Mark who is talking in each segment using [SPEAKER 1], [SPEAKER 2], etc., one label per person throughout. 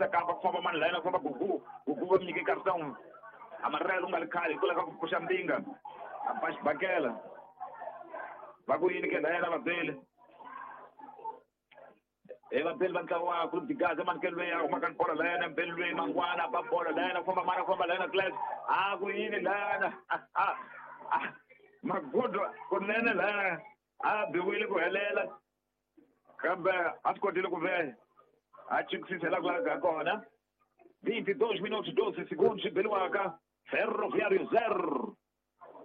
[SPEAKER 1] Kamba ku famba mani layena ku famba Gugu. Gugu va nyike cartão amarelo nga ri khale hikwalaho ka ku pfuxa mbinga a ba xibakela va ku yini ke layena vabeli e vabeli va ntlawa wa Clube de Gaza manikelo loyi a humaka ni bolo layena mbeli loyi mangwana ba bolo layena ku famba mani ku famba layena class a ku yini layena magudu kunene layena a biwile ku helela kambe a swi kotile ku ve a chikisisa la ku laveka kona. 22 minutos 12 segundos beliwaka Ferroviário 0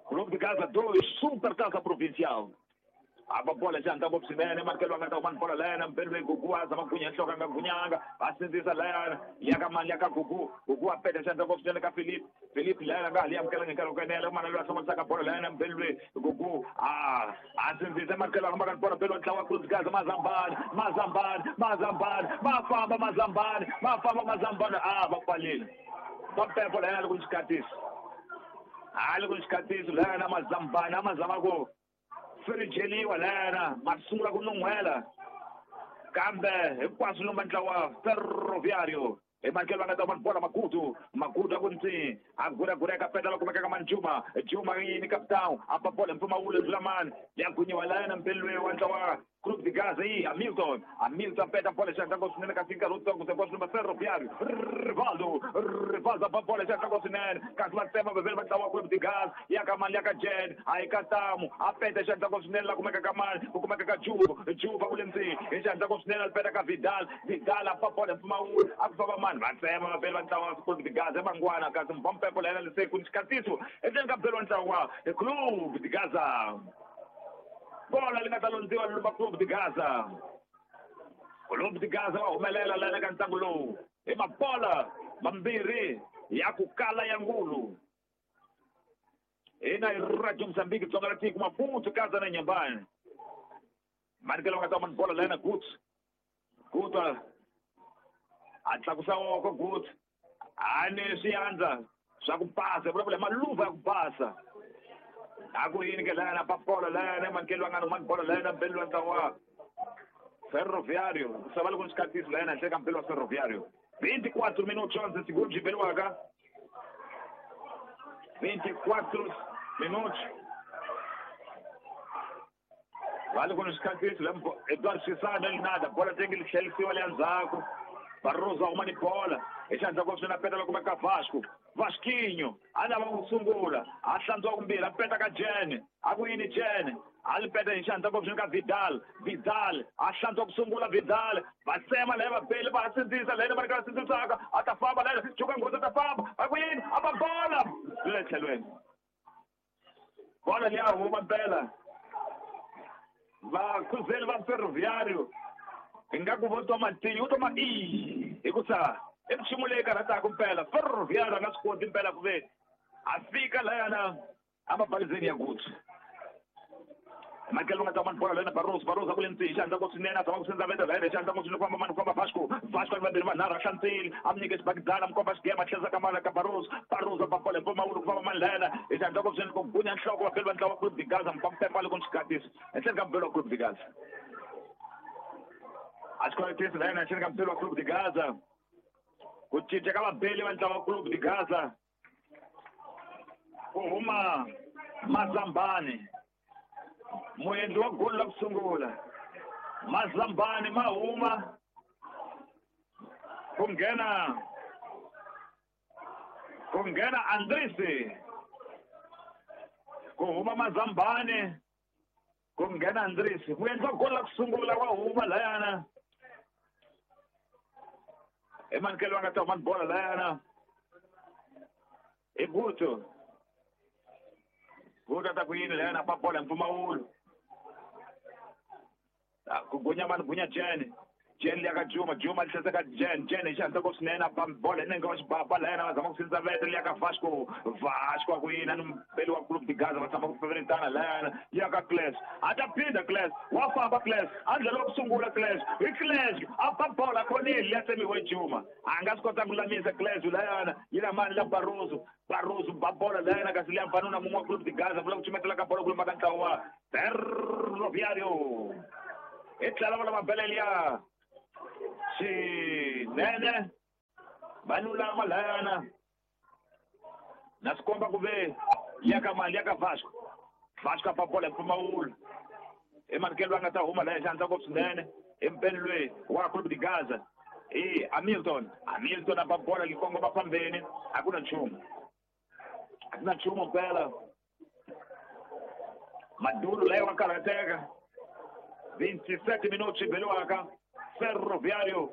[SPEAKER 1] Clube de Gaza 2 Supertaça Provincial. A bola já anda ngopfu swinene manikelo nga ta huma ni bola layena mbeli loyi Gugu a zama gunya nhloko a nga gunyanga va sindzisa layana ya ka mani ya ka Gugu. Gugu a peta xandla ngopfu swinene ka Philip. Philip layena nga hali amukelanga hi nkarhi wa ku enela mana loyi a hlomolisaka bolo layena mbeli loyi Gugu a sindzisa manikelo a fambaka ni bola mbeli wa ntlawa wa Clube de Gaza Mazambani Mazambani Mazambani ma famba Mazambani ma famba Mazambani a va pfalile va pepo layena loko ni xikatisi a loko ni xikatisi layena Mazambani a ma zama ku firijeliwa layena ma sungula ku nun'hwela kambe hinkwaswo lomba ntlawa Ferroviário hi manikelo va nga ta bola Magudu. Magudu a ku ntsi a guragura eka peta la kumeka ka mani Juma. Juma yini capitão a ba bola mpfumawulo ndlula mani ya gunyiwa layena mbeli loyi wa ntlawa Clube de Gaza yi Hamilton. Hamilton peta bola xandla ngopfu swinene kasi nkarhi wutsongo se ngopfu Ferroviário Rivaldo. Rivaldo ba bola xandla ngopfu swinene kasi va tsema vaveli va ntlawa Clube de Gaza ya ka mani ya ka Jen a yi ka Tamu a peta xandla ngopfu swinene la kumeka ka mani ku kumeka ka Juba. Juba ku le ndzeni hi xandla ngopfu swinene a peta ka Vidal. Vidal a ba bola mpfumawulo a ku famba mani va tsema vaveli va ntlawa Clube de Gaza mangwana kasi mpompepo la yena lese ku ni xikatiso endzeni ka mbeli wa ntlawa Clube de Gaza. Bola li nga ta londziwa lumba Clube de Gaza. Clube de Gaza va humelela lana ka ntlangu lowu hi mabola mambirhi ya ku kala ya ngulu. Hina hi Radio Mozambique Tsonga ra tiko Maputo Gaza na Nyambani. Manikelo nga ta mani bola lana Guts. Guts a tlakusa woko Guts a ni swiandza swa ku basa vulavula maluva ya ku basa. A ku yini ke lana pa bola lana manikelo nga mani bola lana mbeli wa ntlawa Ferroviário sava loko ni xikatisi lana henhla ka mbeli wa Ferroviário. 24 minutos 11 segundos beliwaka 24 minutos vale ku ni xikatisi la Eduardo Chisana nada bola tenge li tlhelisiwa le ndzhaku Barroso a huma ni bola hi xandla ngopfu swinene a peta loko ka Vasco. Vasquinho a lava ku sungula a hlantswa kumbirhi a peta ka Jene a ku yini Jene a li peta hi xandla ngopfu swinene ka Vidal. Vidal a hlantswa ku sungula Vidal va tsema laha vabeli va sindzisa laha va ri ka va sindzisaka a ta famba laha Chuka Nghozi a ta famba a ku yini a ba bola le tlhelweni bola liya huma mpela vakhuzeli va Ferroviário ingaku vo twa matinyu vo twa ma i hikusa i nchumu leyi karhataka mpela Ferroviário a nga swi koti mpela ku ve a fika layana a mabalizeni ya Guts. Manikelo nga ta mani bola lena Barroso. Barroso a ku le ndzeni xandla ngopfu swinene a zama ku sindza veta layena xandla ngopfu swinene ku famba mani ku famba Vasco. Vasco ni vambirhi vanharhu a hlantsile a mi nyike xibakidana mi komba xigema a tlherisa ka mani ka Barroso. Barroso a ba bola hi mpfumawulo ku famba mani layena hi xandla ngopfu swinene ku gunya nhloko vabeli va ntlawa Clube de Gaza mpampepa loko ni xikatisi henhleni ka mbeli wa Clube de Gaza. A xikatisi layena henhleni ka mbeli wa Clube de Gaza. Ku cinca ka vabeli va ntlawa Clube de Gaza ku huma Mazambani muendli wa goli la ku sungula Mazambani ma huma ku nghena Andrisi ku huma Mazambani ku nghena Andrisi muendli wa goli la ku sungula wa huma layana hi manikelo va nga ta huma ni bola layana hi Guto. Guto a ta ku yini layana pa bola hi mpfumawulo ku gunya mani gunya Jene. Jen liya ka Juma. Juma li tlherisa ka Jen. Jen hi xandla ngopfu swinene a ba bola hi nenge wa xibaba layena va zama ku sindza vete liya ka Vasco. Vasco a ku yini a ni mbeli wa Clube de Gaza va tshama ku feveretana layana ya ka Clash. A ta phinda Clash wa famba Clash a ndlela wa ku sungula Clash hi Clash a ba bola khonile liya tsemiwe Juma a nga swi kota ku lulamisa Clash layana yi na mani la Barroso. Barroso ba bola layana kasi liya mfanuna mun'we wa Clube de Gaza vula ku cumetela ka bola ku lumba ka ntlawa wa Ferroviário hi tlhela va lava bele liya swinene. Vanhu lama layana na swi komba ku ve ya ka mali ya ka Vasco. Vasco a bola hi mpfumawulo. I manikelo a nga ta huma laya xandla ngopfu swinene empeni loyi wa Clube de Gaza. I Hamilton. Hamilton a ba bola yi kongoma phambeni, a ku na nchumu. A ku na nchumu mpela. Maduro laya wa karhateka. 27 minutos beliwaka Ferroviário.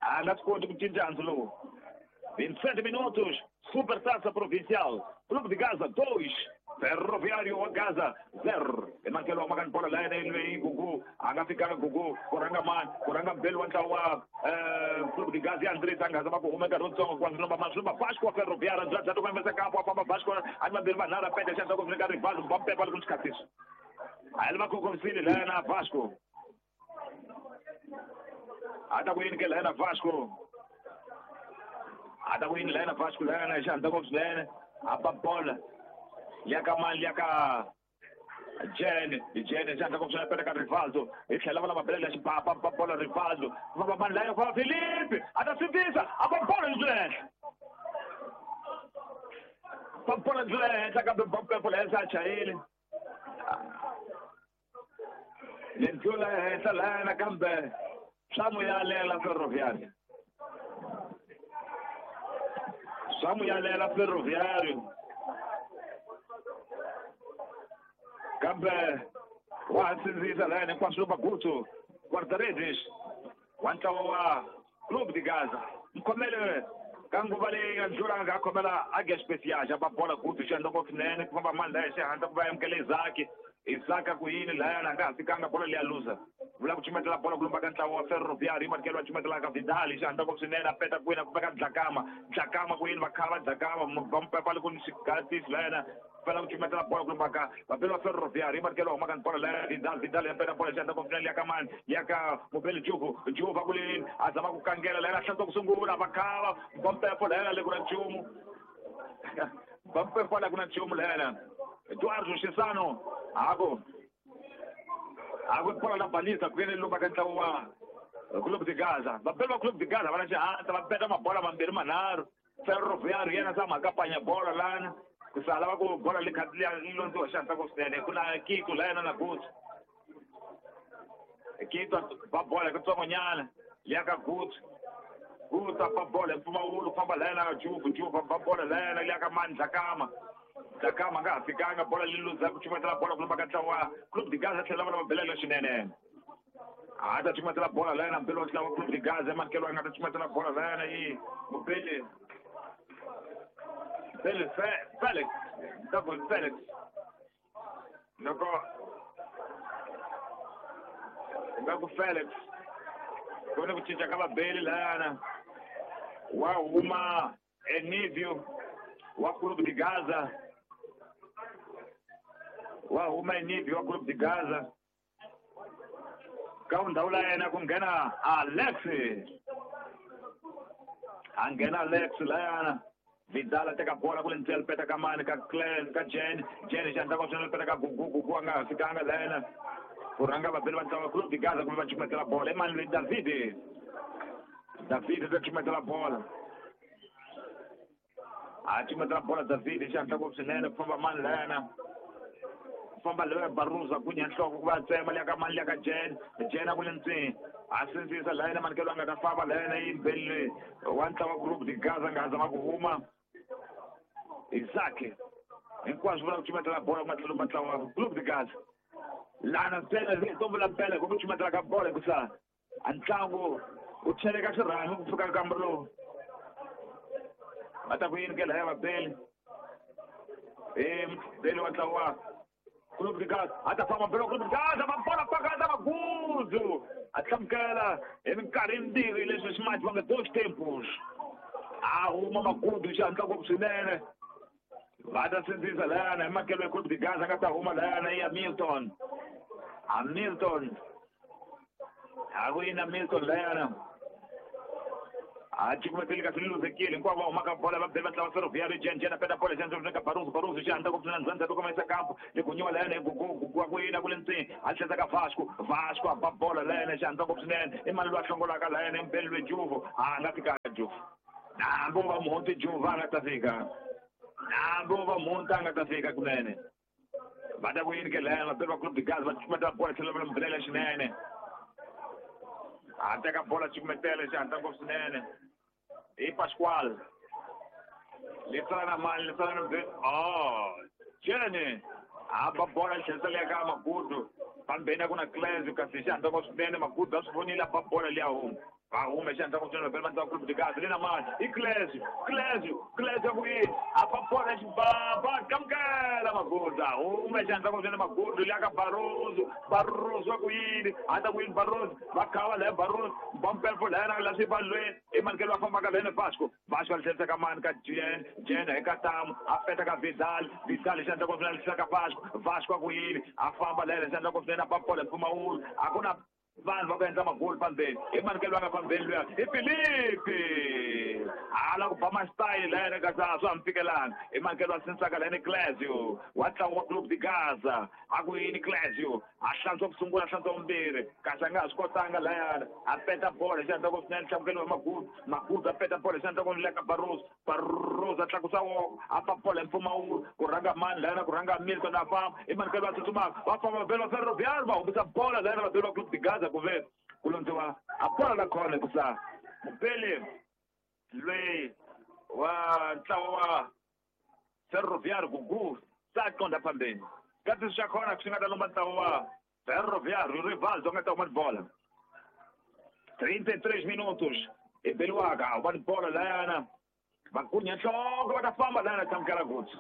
[SPEAKER 1] A nga swi koti ku cinca handzu lowu. 27 minutos, Supertaça Provincial. Clube de Gaza 2, Ferroviário wa Gaza 0. Emakelo wa makani bola laya leyi Gugu a nga fikanga Gugu ku rhanga mani ku rhanga mbeli wa ntlawa wa Clube de Gaza ya Andres a nga zama ku huma nkarhi wutsongo ku lomba maswi Vasco wa Ferroviário bya bya to kampo a famba Vasco a ni mambirhi manharhu a penda xandla ku fika Rivaldo ba mpepa loko xikhatisi. A yi va khokomisile laya na Vasco. A ta ku yini ke laya na Vasco. A ta ku yini laya na Vasco laya na xandla ngopfu swinene. A ba bola ya ka mali ya ka Jene Jene xandla ngopfu swinene penda ka Rivaldo. Hi tlhela va lava belela xibaba ba bola Rivaldo. Va mani laya fa Felipe a ta sindzisa a ba bola lebyi henhla. Ba bola lebyi henhla kambe ba pepo laya se a chayile. Lendlula henhla laya nakambe swa n'wi yalela Ferroviário. Swa n'wi yalela Ferroviário. Kambe wa ha sindzisa laya hinkwaswo Magutu guarda-redes wa ntlawa wa Clube de Gaza. Mkhomele ka nguva leyi nga ndlula nga khomela Águia Especiais a ba bola Gutu xandla ngopfu swinene ku famba mani laya xihatla ku va amukela Isaac. Isaac ku yini laya na nga ha fikanga bola leyi a luza. Vula ku cumetela bola ku lumba ka ntlawa wa Ferroviário manikelo wa cumetela ka Vidal xandla ngopfu swinene a peta kwini a ku veka Dlakama. Dlakama ku yini va khava Dlakama va mpepa loko ni xigatisi laya fela ku cumetela bola ku lumba ka vapeli wa Ferroviário manikelo wa huma ka bola laya Vidal Vidal ya peta bola xandla ngopfu swinene ya ka mani ya ka Mobeli Juvu Juvu ku yini a zama ku kangela laya hlantswa ku sungula va khava va mpepo laya le ku na nchumu. Va mpepo la ku na nchumu laya Eduardo Chisano ako ako bola la balisa ku yini lumba ka ntlawa wa Clube de Gaza. Vapeli va Clube de Gaza va na xihatla va peta mabola mambirhi manharhu. Ferroviário yena tshama ka panya bola lana ku sala va ku bola le kha liya yi londziwa xihatla ngopfu swinene ku na Kito laya na Gutu. Kito va bola kutsongonyana ya ka Gutu. Gutu a ba bola mpfumawulo ku famba laya na Juvu Juvu ba bola laya ya ka mani Dlakama. Dlakama nga ha fikanga bola leyi luza ku cumetela bola ku lumba ka ntlawa Clube de Gaza tlhela va lava belela swinene. A ta cumetela bola laya na mbeli wa ntlawa Clube de Gaza manikelo a nga ta cumetela bola laya na yi Mobeli Beli Felix Double Felix loko nga ku Felix ku ni ku cinca ka vabeli layana wa huma Enivio wa Clube de Gaza. Wa huma Enivio wa Clube de Gaza. Ka ndhawu la yena ku nghena Alex. A nghena Alex layana. Vidal a teka bola ku le ndzeni peta ka mani ka Glenn ka Jen Jen xandla ngopfu swinene peta ka Gugu Gugu a nga ha fikanga layena. Ku rhanga vabeli va ntlawa Clube de Gaza kumbe va cumetela bola. I mani loyi David. David ta cumetela bola. A cumetela bola David xandla ngopfu swinene ku famba mani layena. Ku famba loyi Baruza ku nya nhloko ku va tsema liya ka mani liya ka Jen Jen a ku le ndzeni. A sindzisa layena manikelo a nga ta famba layena yi mbeli wa ntlawa Clube de Gaza nga ha zama ku huma Isaac. Hinkwaswo vula ku cumetela bola ku matlhelo ma ntlawa Clube de Gaza. Lana ntsena to vula mpela ku cumetela ka bola hikusa a ntlangu wu cheleka xirhami ku fika nkambo lowu. Va ta ku yini ke laya vabeli. Beli wa ntlawa Clube de Gaza a ta famba mbeli wa Clube de Gaza va bola pakata Maguzu a hlamukela hi minkarhi yimbirhi leswi swi mati va nga dos tempos. A huma Magudu xandla ngopfu swinene. Va ta sindzisa layana hi makelo ya Clube de Gaza nga ta huma layana ya Milton. A Milton a ku yini Milton layana. A cukumeteli kasi liluzekile hinkwavo va humaka bola va bela ntlawa Ferroviário Jen Jen a peta bola xandla ka Baruzu Baruzu xandla ngopfu swinene ndzhaku ka mayisa kampo le ku nyiwa layana hi Gugu Gugu ku yini ku le ndzeni a tlhela ka Vasco Vasco a ba bola layana xandla ngopfu swinene i mani loyi a hlongolaka layana mbeli lwe Juvu a nga fika Juve. Nambo va monte Juve a nga ta fika. Nambo va monta a nga ta fika kunene. Va ta ku yini ke lena va Clube de Gaza va cukumeta bola tlhelo va mbulela swinene. A teka bola cukumetela xihatla ngopfu swinene. Hi Pascual. Letsala na mani, letsala na oh, Jene. A ba bola tlhelisela le ka Magudu. Pambeni a ku na Clésio kasi xihatla ngopfu swinene Magudu a swi vonile a ba bola liya huma. Va huma xihatla ngopfu swinene va Clube de Gaza le na mani. I Clésio, Clésio, Clésio ku yini? A ba bola xibaba kamukela Magudu. A huma xihatla ngopfu swinene Magudu liya ka Barroso. Barroso ku yini? A ta ku yini Barroso? Va khava laya Barroso. Bampelfo laya na la swivalweni. I manikelo va fambaka lene Vasco. Vasco a tlherisa ka mani ka Jen, Jen eka Tamu, a peta ka Vidal, Vidal xihatla ngopfu swinene tlherisa ka Vasco. Vasco a ku yini? A famba laya xihatla ngopfu swinene a ba bola mpfumawulo. A ku na vanhu va ku endla magoli pambeni. I manikelo va nga pambeni luya. I Filipe. A la ku ba masitayili laya kasi a swa ha mi fikelanga. I manikelo va sindzisaka laya ni Clésio wa ntlangu wa Clube de Gaza. A ku yini Clésio? A hlantswa ku sungula, a hlantswa vumbirhi. Kasi a nga ha swi kotanga layana. A peta bola xihatla ngopfu swinene hlamukelo wa Magudu. Magudu a peta bola xihatla ngopfu le ka Barroso. Barroso a tlakusa voko, a ba bola hi mpfumawulo. Ku rhanga mani layana, ku rhanga Milton a famba. I manikelo va tsutsumaka. Va famba vabeli va Ferroviário va humesa bola layana vabeli va Clube de Gaza ku ve ku londziwa a bola la khona hikusa mubeli loyi wa ntlawa wa Ferroviário Gugu se a qondha phambeni. Kasi xa khona swi nga ta lomba ntlawa wa Ferroviário Rivaldo nga ta huma ni bola. 33 minutos. I beliwaka a huma ni bola layana. Va gunya nhloko va ta famba layana tlamukela Gutu.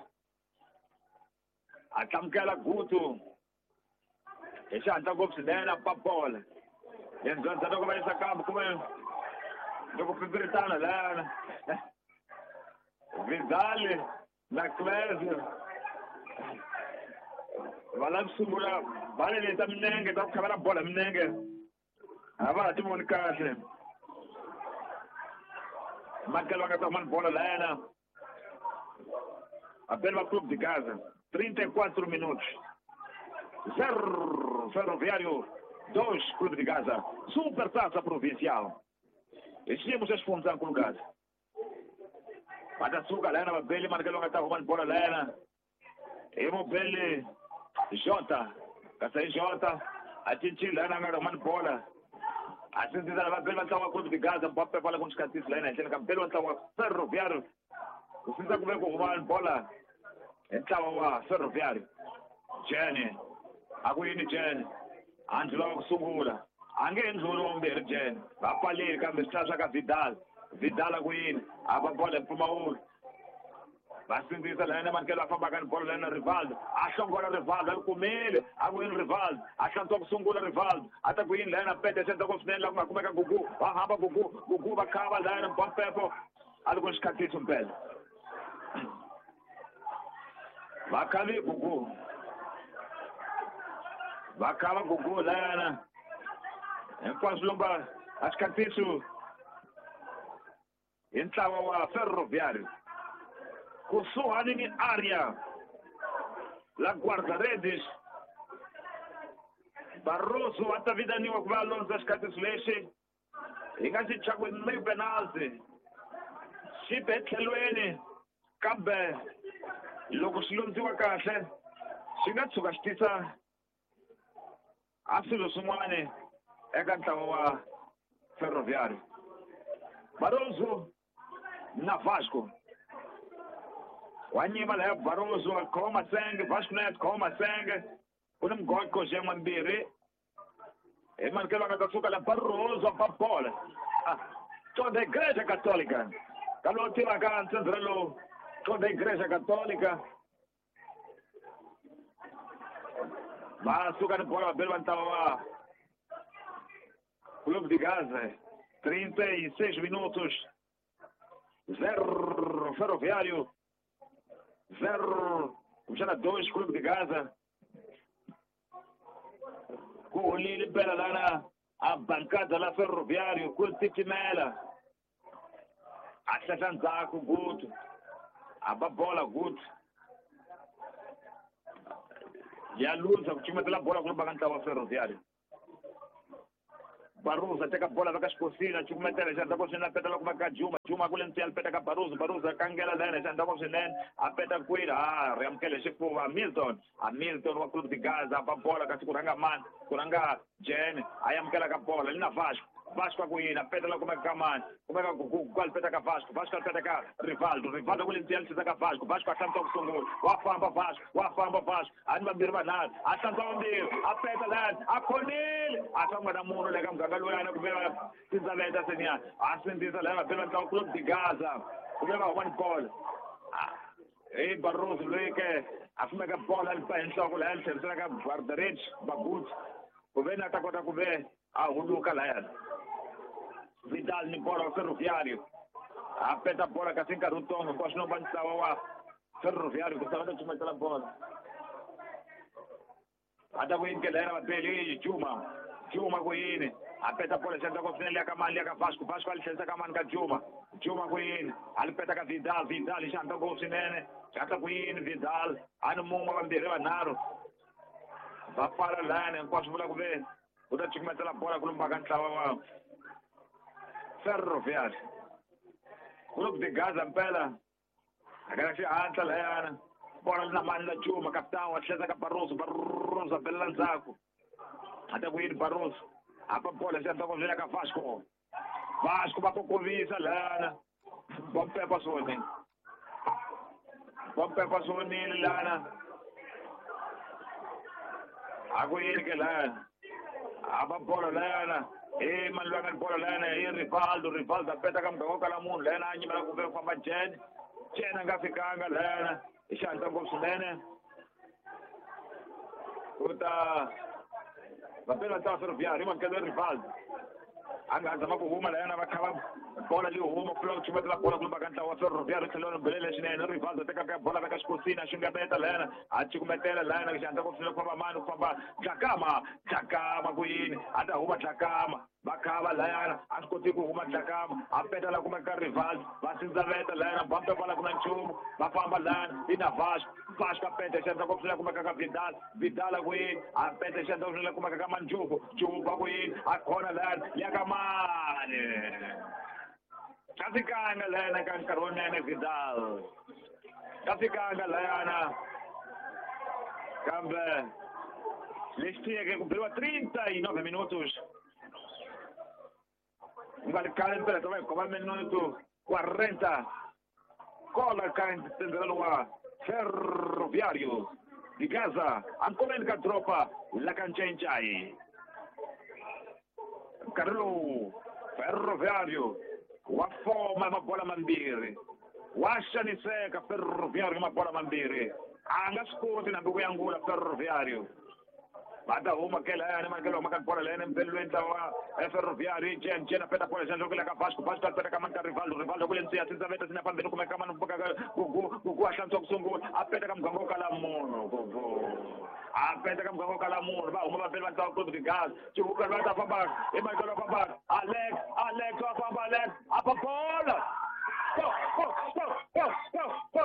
[SPEAKER 1] A tlamukela Gutu. Hi xihatla ngopfu swinene a ba bola. Yendzandza loko va yisa kambe kumbe loko pipiritana layana. Vidal na Clésio va lava ku sungula bale leti ta minenge ta ku khavela bola minenge a va ha ti voni kahle. Makelo va nga ta huma ni bola layana. Vabeli va Clube de Gaza 34 minutos. 0 Ferroviário 2 Clube de Gaza. Supertaça Provincial. Hi xiyimo xa xifundzankulu Gaza. Va ta suka layana vabeli manikelo va nga ta huma ni bola layana. Hi mubeli Jota. Kasi hi Jota a cincile layana a nga huma ni bola. A sindzisa la vabeli va ntlangu wa Clube de Gaza Mbappe va la ku ni xikatisi layana henhleni ka mubeli wa ntlangu wa Ferroviário. Ku sindza ku ve ku huma ni bola hi ntlawa wa Ferroviário. Jene. A ku yini Jene? A ndlhula wa ku sungula. A nge ndlhuli wa vumbirhi Jene. Va pfaleli kambe swi tlhela swa ka Vidal. Vidal a ku yini? A ba bola hi mpfumawulo. Va sindzisa layana manikelo a fambaka ni bola layana Rivaldo. A hlongola Rivaldo, a ri kumile. A ku yini Rivaldo? A hlantswa ku sungula Rivaldo. A ta ku yini layana pete xi endla ngopfu swinene laha ku nga kumeka Gugu. Va hamba Gugu, Gugu va khava layana Mbampepo. A ri ku ni xikhatiso mpela. Va khavi Gugu. Va khava Gugu layana. Hinkwaswo lomba a xikhatiso hi ntlawa wa Ferroviário. Kusuhani ni area la guarda-redes. Barroso a ta vitaniwa ku va a londza xikhatiso lexi. Hi nga xi chaku ni penalty. Xi be tlhelweni kambe loko xi londziwa kahle xi nga tshuka xi tisa a swilo swin'wana eka ntlawa wa Ferroviário. Barroso na Vasco. Wa nyima laya Barroso a khoma masenge, Vasco na ya khoma masenge. Ku ni mgoqo xin'we mbirhi. Hi manikelo a nga ta suka la Barroso a ba bola. Contra Igreja Católica. Ka lowu tivaka ntsendzela lowu contra Igreja Católica. Va suka ni bola vabeli va ntlawa wa Clube de Gaza. 36 minutos. 0 Ferroviário. 0 kumbexana 2 Clube de Gaza. Ku holile mpela lana a bancada la Ferroviário ku titimela. A hlehla ndzhaku Gutu. A ba bola Gutu. Ya luza ku cukumetela bola ku lomba ka ntlawa wa Ferroviário. Barroso teka bola veka xikosini a cukumetela xandla ko swinene a peta loko ka Juma Juma kule ntsiya peta ka Barroso Barroso a kangela lena xandla ko swinene a peta kwini a ri amukele xifuva Milton a Milton wa Clube de Gaza ba bola kasi ku rhanga mani ku rhanga Jen a amukela ka bola ni na Vasco Vasco ku yini a peta loko ka mani kumeka ku alipeta ka Vasco Vasco alipeta ka Rivaldo Rivaldo kule ntsiya tlhisa ka Vasco Vasco a hlantswa ku sungula wa famba Vasco wa famba Vasco a ni vambirhi vanharhu a hlantswa vambirhi a peta lani a khonile a famba na munhu le ka muganga luyana ku veva tindzaveta seniya a sindzisa laya vabeli va ntlawa Clube de Gaza ku ve va huma ni bola hi Barroso loyi ke a fumeka bola a lipa hi nhloko laya li tlherisela ka Bardarich Bagut ku ve na ta kota ku ve a huluka layana Vidal ni bola wa Ferroviário a peta bola kasi nkarhi wutsongo hinkwaswo no va ntlawa wa Ferroviário ku sava ta cumetela bola a ta ku yini ke layana vabeli Juma Juma ku yini a peta bola xandla ko swinene ka mani ka Vasco Vasco a li tlherisa ka mani ka Juma Juma ku yini a li peta ka Vidal Vidal hi xandla ko swinene xandla ku yini Vidal a ni mun'we vambirhi vanharhu va pfala layana hinkwaswo vula ku ve u ta cukumetela bola ku lumba ka ntlawa wa Ferroviário Clube de Gaza mpela akala xihatla layana bola na mani la Juma capitão a tlhela ka Barroso Barroso a belela ndzhaku a ta ku yini Barroso a pa bola xandla ko ka Vasco Vasco va kokovisa lana va mpepa swonile va mpepa swonile lana a ku yini ke lana a va bola lana e mani loyi a nga ni bola lana i Rivaldo Rivaldo a peta ka muganga wo kala munhu lana a nyimela ku ve ku famba Jen Jen a nga fikanga lana hi xihatla ngopfu swinene ku ta vapela ntlawa Ferroviário i Rivaldo a nga zama ku huma layana va kha va bola leyi huma ku ku cumetela bola ku lumba ka ntlawa wa Ferroviário tlhelo ri belele swinene Rivaldo teka ka bola veka xikosini a xungabeta layana a cukumetela layana xihatla ngopfu swinene ku famba mani ku famba Dlakama Dlakama ku yini a ta huma Dlakama va khava layana a swi koti ku huma Dlakama a peta la kumeka Rivaldo va sindzaveta layana bampe vala ku na nchumu va famba layana i na Vasco Vasco a peta xandla ngopfu swinene kumeka ka Vidal Vidal a ku yini a peta xandla swinene kumeka ka Manjuku Juku a ku yini a khona layana ya ka mani ka fikanga layana ka nkarhi wunene Vidal ka fikanga layana kambe lexi tiyeke ku beriwa 39 minutos nga ri khale mpela ta va hi khoma minuto 40 kola ka ntsendzelo wa Ferroviário de Gaza ankomeni ka dropa la ka Ncencai nkarhi lowu Ferroviário wa foma mabola mambirhi wa xaniseka Ferroviário mabola mambirhi a nga swi koti nambi ku yangula Ferroviário va ta huma ke layani makelo huma ka bola layani mpelweni ntlawa wa Ferroviário Jen Jen a peta bola xandla ku le ka Vasco Vasco a peta ka mani ka Rivaldo Rivaldo kule ntsiya sindzaveta sina phambili kumeka mani Gugu a hlantswa ku sungula a peta ka muganga wo kala munhu Gugu a peta ka muganga wo kala munhu va huma vapeli va ntlawa Clube de Gaza Chivuka va ta fambaka i Michael wa fambaka Alex Alex wa famba Alex a pa bola go go go go go go